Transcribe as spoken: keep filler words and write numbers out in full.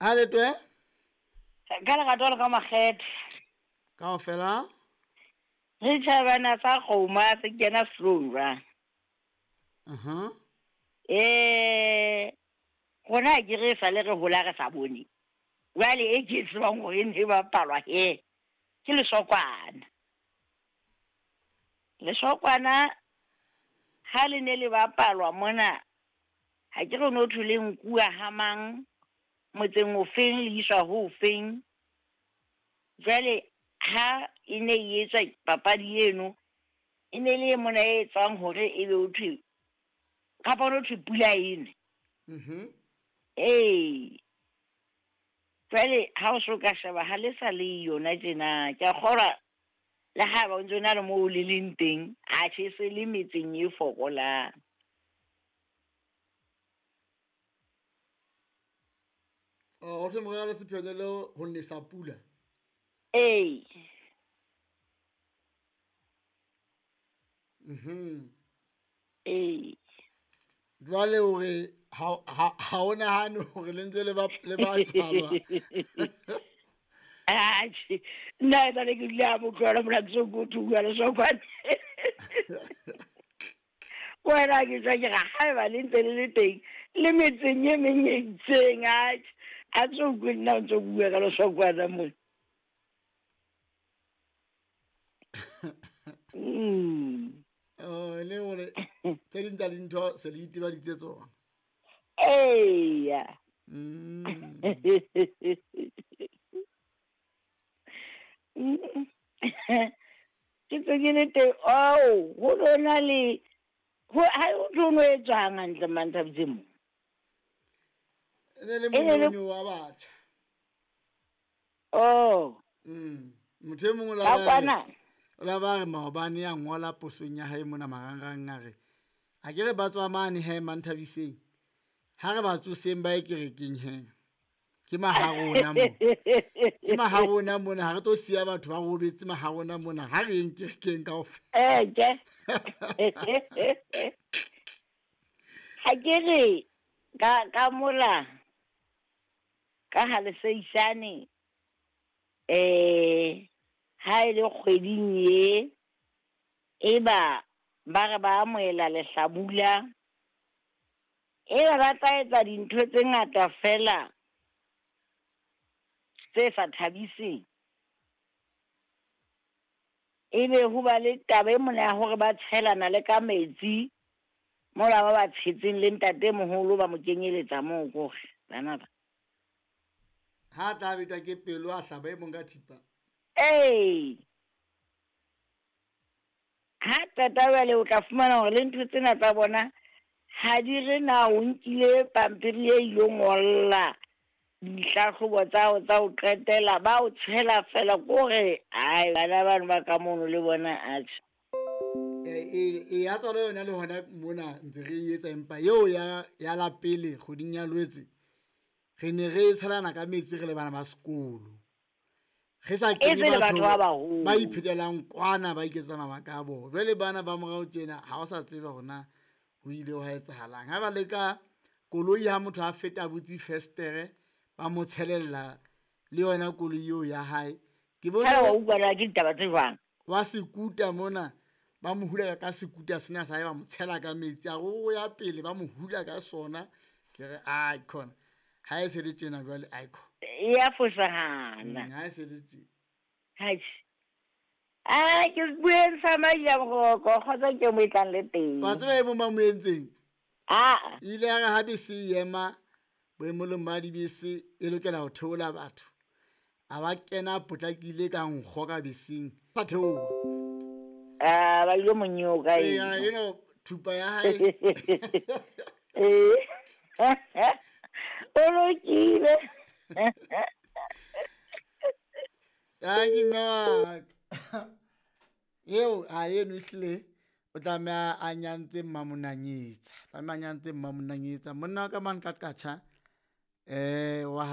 A letwe? Ka lerato le ka makgethe. Kaofela? Re tjhabana sa kgoma se kena sehlong jwang. Uh-huh. Eh rona ke re sa le re hola re sa bone. Jwale e ke tsebang hore e ne e bapalwa he ke lesokwana. Lesokwana ha le ne le bapalwa mona ha ke re no thwe le nkuwa ha mang motseng ofeng le iswa ho ofeng. Jwale ha e ne e etswa papadi eno e ne le e mona e etswang hore ebe ho thwe kapa ho thwe pula ene. Mhm. Ee. Jwale ha o so ka sheba ha le sa le yona tjena ke a kgolwa le ha ba o ntso na le moo le leng teng a tjhe se le metseng e fokolang. Oh, o thwe morero le sepheo le ho nesa pula. Ee. Mhm. Ee. Jwale hore ha ha ha o nahane hore le ntse le ba le bapalwa. Atjhe, nna e sale ke dula ha motho mona ke so ko bua lesokwana. Wena ke tswa ke re haeba le ntse le le teng le metseng e meng e itseng atjhe a tso utlwe nna o ntso bua ka lesokwana mona. Mm. Oh, le hore tse ding tsa dintho se le itebaditse tsona. Eya. Mm. Ke tse ke le teng oh ho lona le ho ha o tlo no etswang hantle Manthabiseng mo. E ne le E ne le monyonyo wa batjha. Oh. Mm. Motho e mong o la Ka ba re kwana. o la ba re maobane ya ngola posong ya hae mona marangrang a re a ke re ba tswa mane he Manthabiseng. Ha re ba tsoseng ba ye kerekeng he. Ke maharona mo. Ke maharona mona ha re tlo siya batho ba robetse maharona mona ha re yeng kerekeng kaofela. Eh ke. Ha ke re ka ka mola ka ha leseisane eh ha e le kgweding ye e ba ba re ba amohela lehlabula e ba ba tla etsa dintho tse ngata fela tse sa thabiseng. Ebe ho ba le taba e mona ya hore ba tshelana le ka metsi mola ba ba tshetseng le ntatemoholo ba mo kenyeletsa moo kore bana ba. Ha tla betwa ke pelo a hlaba e mong ka thipa. Ee. Ha qeta jwale o tla fumana hore le ntho tsena tsa bona ha di re na o nkile pampiri e ilo ngolla dihlahlobo tsa hao tsa ho qetela ba o tshela fela kore ai bana bano ba ka mono le bona atjhe. E e ya tswalo yona le hona mona ntse re e etsa empa eo ya ya la pele kgweding ya Lwetse re ne re tshelana ka metsi re le bana ba sekolo. Re sa E kenye se le batho batho ba ba baholo. iphetelang kwana ba iketsa mabaka a bona. Jwale bana ba morao tjena ha o sa tseba hore na ho ile hwa etsahalang. Ha ba leka koloi ha motho a feta a butse festere ba mo tshelella le yona koloi eo ya hae. Ke bone Ha wa utlwa na ke ditaba tse jwang? wa sekuta mona ba mo hula ka sekuta sena sa hae ba mo tshela ka metsi a re o ya pele ba mo hula ka sona. Ke re ai khona ha e se le tjena jwale ai kho. E ya fosahala. Mm, ha e se le tjena. Atjhe. Ah ke bueng sa Majaboroko kgotsa ke mo e tlang le teng. Wa tseba e mong ba mo entseng? Ah. Ile ya re ha bese e ema boemelong ba dibese e lokela ho theola batho. A ba kena a potlakile ka nkgo ka beseng. Sa theoha. Ah ba ilo mo nyoka Eya, eno. eno thupa ya hae. Eh. O lokile. Thank you, Mark. Eo a eno ehlile o tlameha a nyantse mmamonanyetsa. Tlameha a nyantse mmamonanyetsa. Monna wa ka mane ka Qacha eh wa